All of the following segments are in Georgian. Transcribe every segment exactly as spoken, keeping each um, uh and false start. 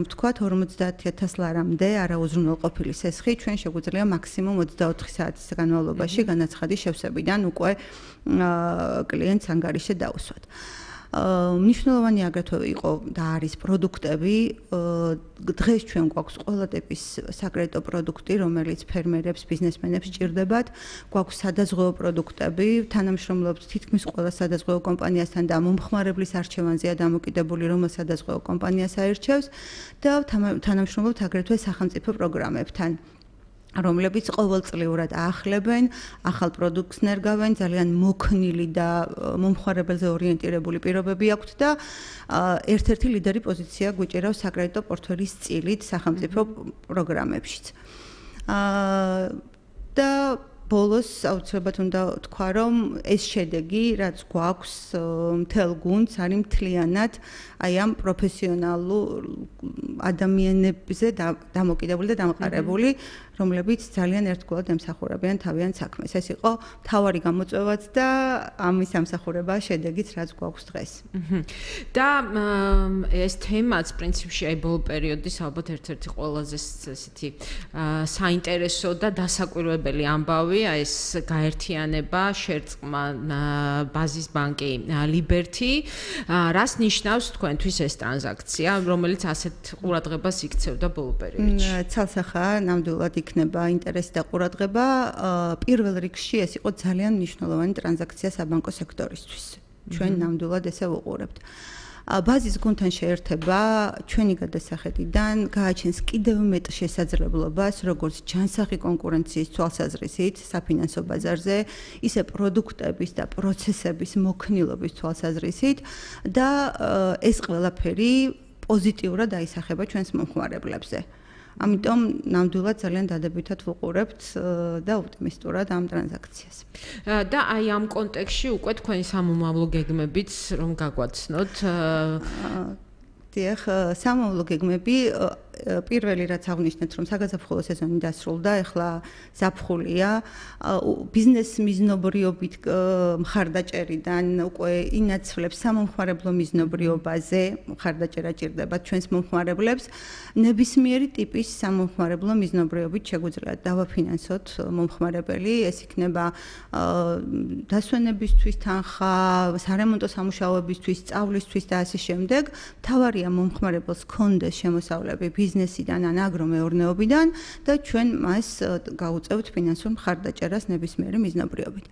Თქვათ ორმოცდაათი ათას ლარამდე არაუზრუნველყოფილი სესხი ჩვენ შეგვიძლია მაქსიმუმ ოცდაოთხი საათის განმავლობაში განაცხადის შევსებიდან უკვე კლიენტს ანგარიში დაუსვათ. მნიშვნელოვანი აგრეთვე იყო და არის პროდუქტები. დღეს ჩვენ გვაქვს ყველა ტიპის საკრედიტო პროდუქტი, რომელიც ფერმერებს, ბიზნესმენებს სჭირდებათ. გვაქვს სადაზღვევო პროდუქტები, თანამშრომლობთ თითქმის ყველა სადაზღვევო კომპანიასთან და მომხმარებლის არჩევანზეა დამოკიდებული, რომელ სადაზღვევო კომპანიას აირჩევს და თანამშრომლობთ აგრეთვე სახელმწიფო პროგრამებთან, რომლებიც ყოველწლიურად აახლებენ, ახალ პროდუქტს ნერგავენ, ძალიან მოქნილი და მომხმარებელზე ორიენტირებული პირობები აქვთ და ერთ-ერთი ლიდერი პოზიცია გვიჭირავს საკრედიტო პორტფელის წილით სახელმწიფო პროგრამებშიც. და ბოლოს აუცილებლად უნდა თქვა, რომ ეს შედეგი, რაც გვაქვს მთელ გუნდს, არის მთლიანად აი ამ პროფესიონალურ ადამიანებზე დამოკიდებული და დამყარებული, რომლებიც ძალიან ერთგულად ემსახურებიან თავიანთ საქმეს. ეს იყო მთავარი გამოწვევაც და ამის ამსახურება შედეგიც, რაც გვაქვს დღეს. და ეს თემაც პრინციპში აი ბოლო პერიოდის ალბათ ერთ-ერთი ყველაზე ესეთი საინტერესო და დასაკვირვებელი ამბავი, ეს გაერთიანება, შერწყმა ბაზის ბანკი Liberty, რას ნიშნავს თქვენთვის ეს ტრანზაქცია, რომელიც ასეთ ყურადღებას იქცევდა ბოლო პერიოდში? ცალსახაა, ნამდვილად იქნება ინტერესი და ყურადღება. პირველ რიგში ეს იყო ძალიან მნიშვნელოვანი ტრანზაქცია საბანკო სექტორისთვის. ჩვენ ნამდვილად ესე ვუყურებთ. ბაზის გუნდთან შეერთება ჩვენი გადასახედიდან გააჩენს კიდევ მეტ შესაძლებლობას, როგორც ჯანსაღი კონკურენციის თვალსაზრისით საფინანსო ბაზარზე, ისე პროდუქტების და პროცესების მოქნილობის თვალსაზრისით და ეს ყველაფერი პოზიტიურად აისახება ჩვენს მომხმარებლებზე. ამიტომ ნამდვილად ძალიან დადებითად ვუყურებთ და ოპტიმისტურად ამ ტრანზაქციას. და აი ამ კონტექსტში უკვე თქვენი სამომავლო გეგმებიც რომ გაგვაცნოთ. დიახ, სამომავლო გეგმები პირველი რაც აღნიშნეთ, რომ საგაზაფხულო სეზონი დასრულდა, ეხლა ზაფხულია, ბიზნეს მიზნობრიობით მხარდაჭერიდან უკვე ინაცვლებს სამომხმარებლო მიზნობრიობაზე, მხარდაჭერა ჭირდება ჩვენს მომხმარებლებს, ნებისმიერი ტიპის სამომხმარებლო მიზნობრიობით შეგვიძლია დავაფინანსოთ მომხმარებელი, ეს იქნება დასვენებისთვის თანხა, სარემონტო სამუშაოებისთვის, სწავლისთვის და ასე შემდეგ. მთავარია მომხმარებელს ჰქონდეს შემოსავლები ბიზნესიდან ან აგრომეურნეობიდან და ჩვენ მას გავუწევთ ფინანსურ მხარდაჭერას ნებისმიერი მიზნობრიობით.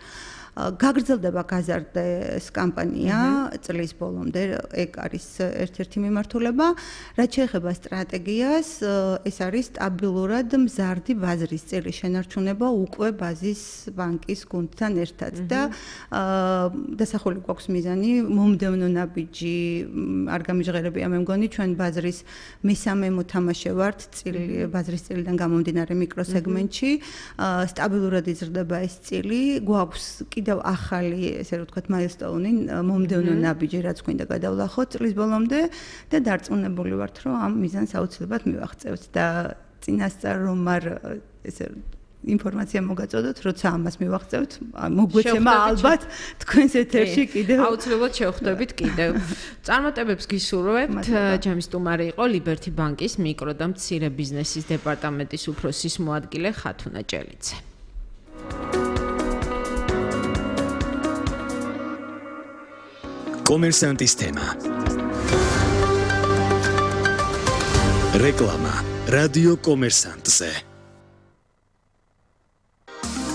გაგრძელდება გაზარდეს კამპანია წლის ბოლომდე, ეგ არის ერთ-ერთი მიმართულება. რაც შეეხება სტრატეგიას, ეს არის სტაბილურად მზარდი ბაზრის წილი შენარჩუნება უკვე ბაზის ბანკის გუნდთან ერთად და დასახული გვაქვს მიზანი მომდევნო ნაბიჯი არ გამიჟღერებია მე მგონი ჩვენ ბაზრის მესამე მოთამაშე ვართ წილი ბაზრის წილიდან გამომდინარე მიკროსეგმენტში, სტაბილურად იზრდება ეს წილი, გვაქვს კიდევ ახალი, ესე რომ ვთქვათ, მაილსტოუნი, მომდევნო ნაბიჯი, რაც გვინდა გადავლახოთ წლის ბოლომდე და დარწმუნებული ვართ, რომ ამ მიზანს აუცილებლად მივაღწევთ და წინასწარ რომ არ ესე ინფორმაცია მოგაწოდოთ, როცა ამას მივაღწევთ, მოგვეცემა ალბათ თქვენს ეთერში კიდევ. აუცილებლად შევხვდებით კიდევ. წარმატებებს გისურვებთ. ჩემი სტუმარი იყო Liberty ბანკის მიკრო და მცირე ბიზნესის დეპარტამენტის უფროსის მოადგილე ხათუნა ჭელიძე. კომერსანტის თემა. რეკლამა რადიო კომერსანტზე.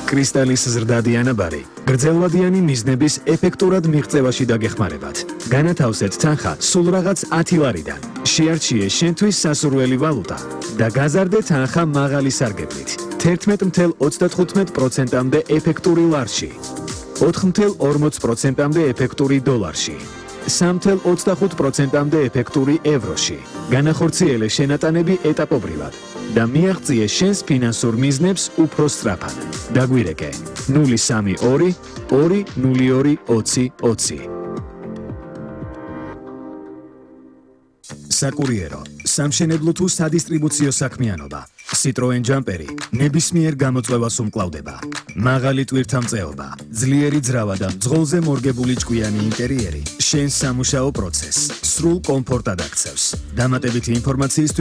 კრისტალის ზრდადი ანაბარი გრძელვადიანი მიზნების ეფექტურად მიღწევაში დაგეხმარებათ. განათავსეთ თანხა სულ რაღაც ათი ლარიდან. შეარჩიე შენთვის სასურველი ვალუტა და გაზარდე თანხა მაღალი სარგებლით. თერთმეტ ათი ოცდათხუთმეტ პროცენტამდე ეფექტური ლარში. ოთხ ათი ორმოც პროცენტამდე ეფექტური დოლარში. სამი ათი ოცდახუთ პროცენტამდე ეფექტური ევროში. განახორციელე შენატანები ეტაპობრივად და მიაღწიე შენს ფინანსურ მიზნებს უფრო სწრაფად. დაგვირეკე ნული სამი ორი ორი ნული ორი ოცი ოცი. საკურიერო, სამშენებლო თუ სადისტრიბუციო საქმიანობა, Citroen Jumperi ნებისმიერ გამოწვევას უმკლავდება. მაღალი ტვირთამწეობა, ძლიერი ძრავა და მძღოლზე მორგებული ჭკვიანი ინტერიერი შენს სამუშაო პროცესს სრულ კომფორტად აქცევს. დამატებითი ინფორმაციისთვის